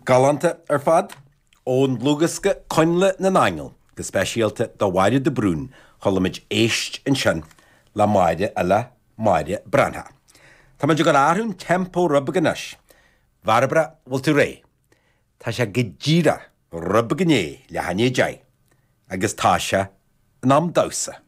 Galánta ar fad. Ón dlúthdhiosca Coinnle na nAingeal, go speisialta do Mháire de Brún, chuala muid Éist ansin le Máire eile, Máire Breathnach. Tá muid ag dul a athrú an tempo rud beag anois. Bhairbre, bhfuil tú réidh? Tá sé go díreach rud beag i ndiaidh leath i ndiaidh a deich agus tá sé in am damhsa.